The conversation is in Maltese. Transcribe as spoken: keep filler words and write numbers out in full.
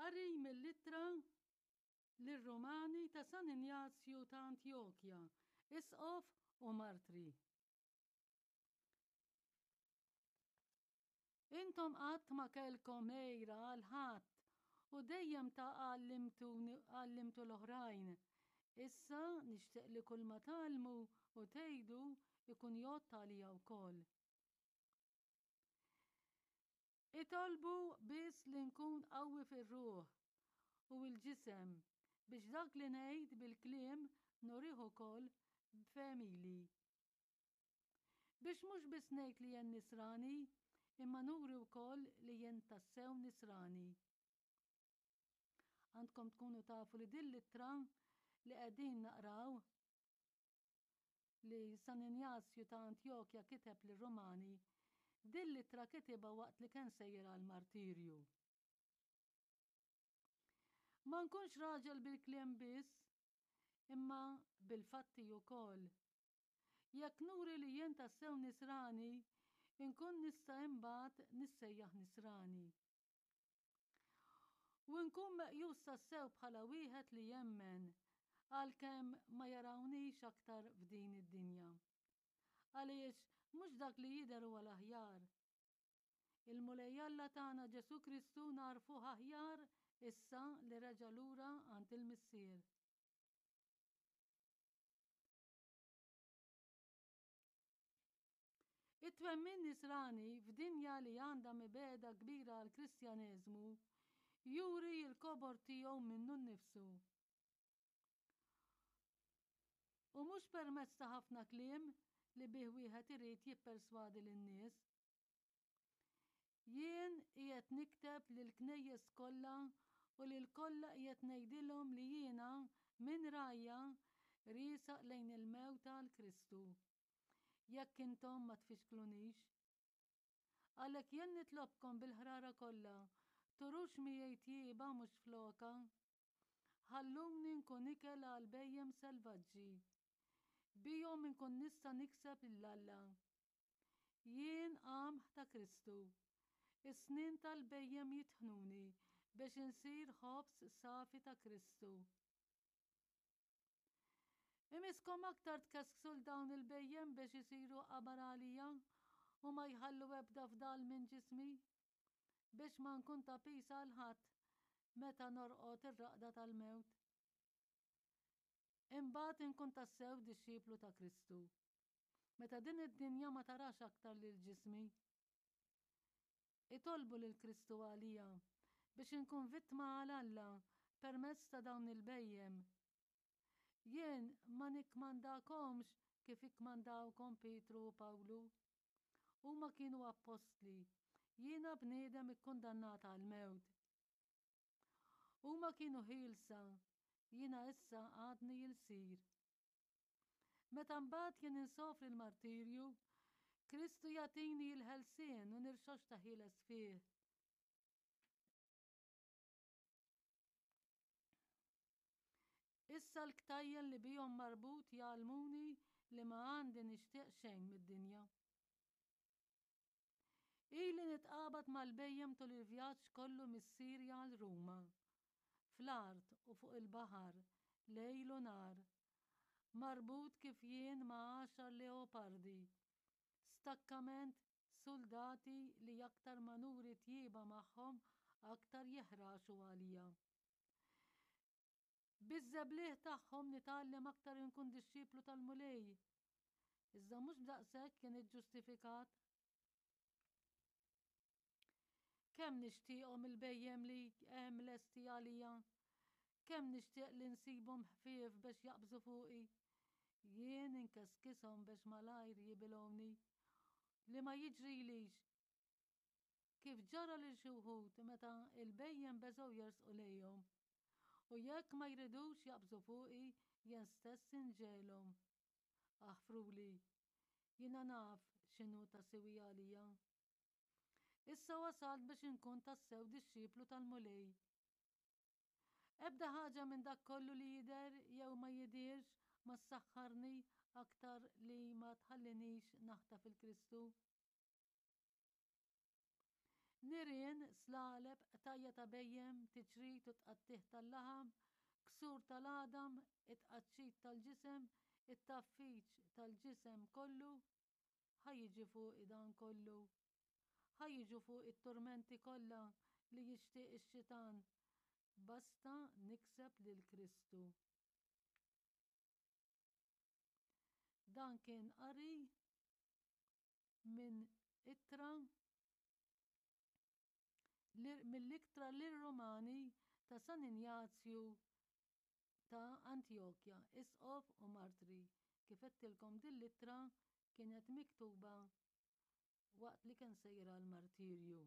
Qari mill-Ittra lir-Rumani ta' San Injazju ta' Antjokja, Isqof u Martri. Intom qatt ma kellkom għira għal ħadd u dejjem ta' għallimtu l-oħrajn. Issa nixtieq li kull ma tgħallmu u tgħidu ikun jgħodd għalija wkoll. Itolbu biss li nkun qawwi fir-ruħ u l-ġisem biex dak li ngħid bil-kliem nurih ukoll b'femili. Biex mhux biss ngħid li jien nisrani, imma nuri wkoll li jien tassew nisrani. Għandkom tkunu tafu li din l-ittra li qegħdin naqraw li San Injazju ta' Antjokja kiteb lir-Rumani, din l-ittra kitibha waqt li kien sejjer għall-martirju. Ma nkunx raġel bil-kliem biss, imma bil-fatti wkoll. Jekk nuri li jien tassew nisrani, inkun nista' imbagħad nissejjaħ nisrani. U nkun meqjus tassew bħala wieħed li jemmen, għalkemm ma jarawnix aktar f'din id-dinja. Għaliex mhux dak li jidher huwa l-aħjar. Il-Mulej Alla tagħna Ġesù Kristu nagħrfuh aħjar issa li reġa' lura għand il-Missier. It-twemmin nisrani f'dinja li għandha mibegħda kbira għall-Kristjaneżmu juri l-kobor tiegħu minnu nnifsu. U mhux permezz ta' ħafna kliem li bih wieħed irid jipperswadi lin-nies. Jien qiegħed nikteb lill-knejjes kollha u lil kollha qiegħed ngħidilhom li jiena minn rajja riesaq lejn il-mewt għal Kristu. Jekk intom ma tfixklunix. Għalhekk jien nitlobkom bil-ħrara kollha, turux miegħi tjieba mhux floka. Ħalluni nkun ikel għal bhejjem selvaġġi. Bihom inkun nista' nikseb lil Alla. Jien qamħ ta' Kristu. Is-snien tal-bhejjem jitħnuni biex insir ħobż safi ta' Kristu. Imiskom aktar tkesksu 'l dawn il-bhejjem biex isiru qabar għalija u ma jħallu ebda fdal minn ġismi, biex ma nkun ta' piż għal ħadd meta norqod ir-raqda tal-mewt. Imbagħad inkun tassew dixxiplu ta' Kristu, meta din id-dinja ma tarax aktar lil ġismi. Itolbu lil Kristu għalija biex inkun vittma għal Alla permezz ta' dawn il-bhejjem. Jien ma nikkmandakomx kif ikkmandawkom Pietru u Pawlu. Huma kienu appostli, jiena bniedem ikkundannat għall-mewt. Huma kienu ħielsa, jiena issa għadni ilsir. Meta mbagħad jien insofri l-martirju, Kristu jagħtini l-ħelsien u nirxoxta ħieles fih. Issa l-ktajjen li bihom marbut jgħallmuni li ma għandi nixtieq xejn mid-dinja. Ili nitqabad mal-bhejjem tul il-vjaġġ kollu mis-Sirja għal Ruma, fl-art u fuq il-baħar, lejl u nhar, marbut kif jien ma' għaxar leopardi, stakkament suldati li aktar ma nuri tjieba magħhom aktar jeħraxu għalija. Biż-żebliħ tagħhom nitgħallem aktar inkun dixxiplu tal-Mulej. Iżda mhux b'daqshekk kien iġġustifikat. Kemm nixtieqhom il-bhejjem li hemm lesti għalija. Kemm nixtieq li nsibhom ħfief biex jaqbżu fuqi. Jien inkeskishom biex malajr jibilgħuni. Li ma jiġrilix kif ġara lil xi wħud meta l-bhejjem beżgħu jersqu lejhom. U jekk ma jridux jaqbżu fuqi, jien stess inġegħelhom. Aħfruli, jiena naf x'inhu ta' siwi għalija. Issa wasalt biex inkun tassew dixxiplu tal-Mulej. Ebda ħaġa minn dak kollu li jidher jew ma jidhirx ma ssaħħarni aktar li ma tħallinix naħtaf il-Kristu. Nirien, slaleb, qtajja' ta' bhejjem, tiċrit u tqattigħ tal-laħam, ksur tal-għadam, it-tqaċċit tal-ġisem, it-tgħaffiġ tal-ġisem kollu, ħa jiġi fuqi dan kollu. Ħa jiġu fuqi t-turmenti kollha li jixtieq ix-xitan, basta nikseb lil Kristu. Dan kien qari minn ittra mill-Ittra lir-Rumani ta' San Injazju ta' Antjokja, Isqof u Martri. Kif għedtilkom din l-ittra kienet miktuba waqt li kien sejjer għall-martirju.